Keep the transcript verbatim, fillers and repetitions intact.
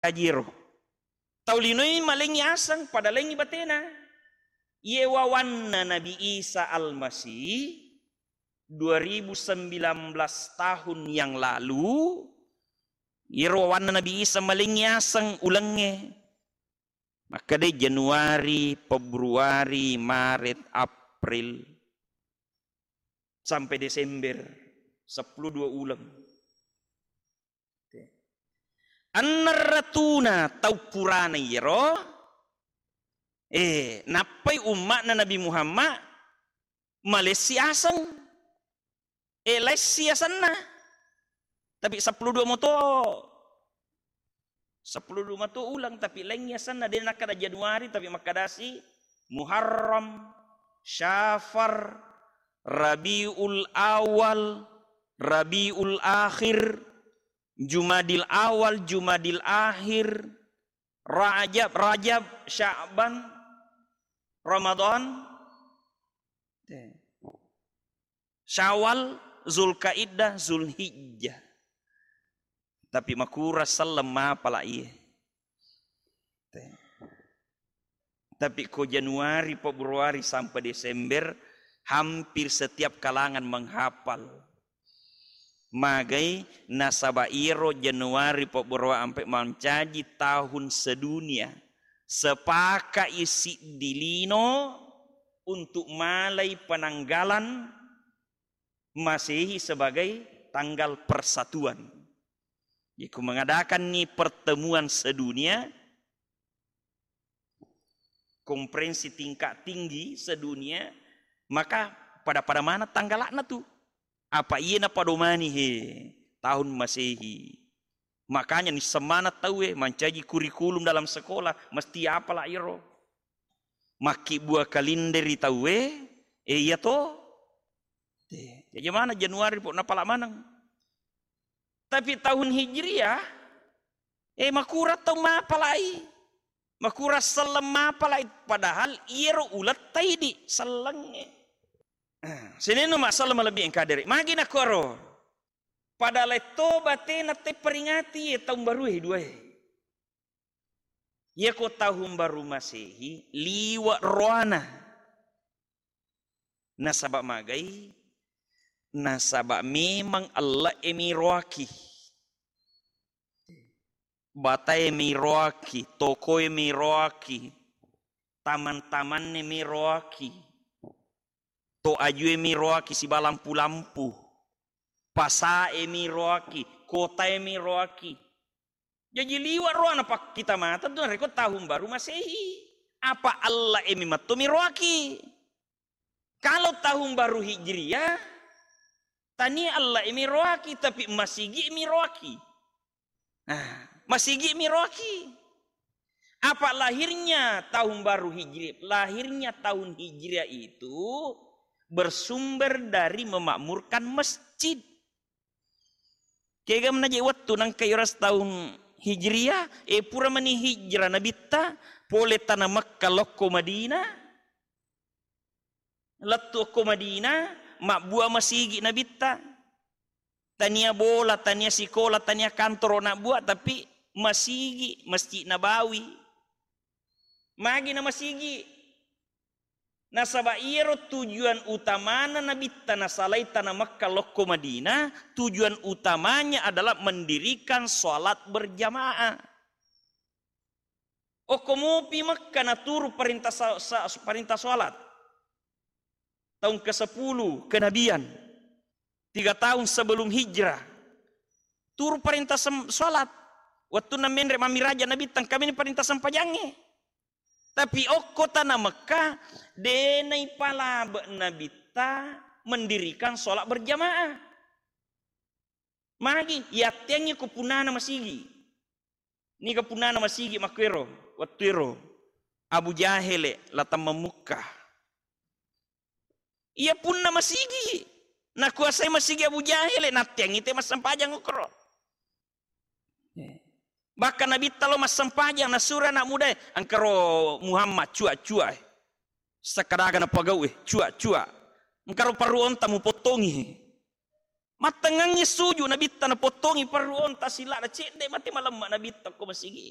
Kajiro. Tau linoi malengngi aseng pada lengngi batena. Iye wawanna Nabi Isa Almasih dua ribu sembilan belas tahun yang lalu, iyero wawanna Nabi Isa malengngi aseng ulengnge. Makkeda Januari, Februari, Maret, April, sampai Desember, seppulo dua uleng. Annerratuna tau purana iyero, eh, nappai umma'na Nabi Muhammad malessi aseng. Eh, laissi asenna. Tapi seppulo dua moto. Seppulo dua moto uleng, tapi laingngi asenna. De' nakkeda Januari, tapi makkadasi Muharram, Syafar, Rabiul Awal, Rabiul Akhir, Jumadil Awal, Jumadil Akhir, Rajab, Rajab, Sya'ban, Ramadan, Syawal, Zulkaidah, Zulhijjah. Tapi makura selleng mapala iye. Tapi ko Januari, Februari sampai Desember, hampir setiap kalangan menghafal. Magai nasaba iyero Januari, Februari ampe mancaji tahun sedunia. Sepakai siddi lino untuk malai penanggalan Masehi sebagai tanggal persatuan. Jadi, ku mengadakan ni pertemuan sedunia, konferensi tingkat tinggi sedunia, maka pada-pada mana tanggalakna tu. Apa iye napadomani he tahun Masehi. Makanya nisseng maneng tauwe mancaji kurikulum dalam sekolah, mesti apala iro. Makkibbua kalender ri tauwe, eh, iya to. Eh, jaji mana Januari po napala maneng. Tapi tahun Hijriah, eh, makura tau mapalai. Makura selleng mapalai, padahal iyero uletta idi sellengnge. Eh, sininna masalah malebbi engka dere. Magi nakkuaro. Pada letto batena te peringati ye tahun baru e dua e. Yako tahun baru Masehi liwa roana. Nasaba magai? Nasaba memang Allah e miroaki. Batae miroaki, tokoe miroaki, taman-tamanne miroaki, to ajue miroaki siba lampu-lampu, pasae miroaki, kotae miroaki. Jaji liwa roana pakkita mata tu narekko tahun baru Masehi. Apa Allah e mimetto miroaki. Kalau tahun baru Hijriah, tania Allah e miroaki, tapi masigi miroaki. Nah, masigi miroaki. Apa lahirnya tahun baru Hijriah? Lahirnya tahun Hijriah itu bersumber dari memakmurkan masjid. Kega menaje wettu nangka iyaro taung Hijriah, eh, pura mani hijrah Nabitta, pole tana Mekka lokko Madinah, lettu okko Madinah, mabbua masigi Nabitta. Tania bola, tania sikola, tania kantoro nabbua, tapi masigi, Masjid Nabawi. Magi na masigi? Nasaba iyaro tujuan utamana Nabitta nasalai tana Mekka lokko Madinah, tujuan utamanya adalah mendirikan salat berjamaah. Okko mupi Mekka naturu parenta sa-, sa-, parenta salat. Taung kesepuluh kenabian. Tiga tahun sebelum hijrah. Turu parenta sem-, salat. Wettunna menre mammiraja Nabitta, engka meni parenta sempajangnge. Tapi okko tana Mekka, de naipalabe Nabitta mendirikan sholat berjamaah. Magi, yatteangngi ko punnana masigi. Niga punnana masigi makkuero, wettuero Abu Jahele latang mammukka. Iya punna masigi, nakuasai masigi Abu Jahele, natteangngi te massempajang okkoro. Bahkan Nabitta lo massempajang, nasuro anak mudae, engkaro Muhammad, cua-cua, eh. Sekkadaga napagau, eh, cua-cua. Engkaro parru onta mupottongi. Mattengngangngi suju Nabitta, napottongi parru onta sila'na, cedde mate malemma Nabitta ko masigi.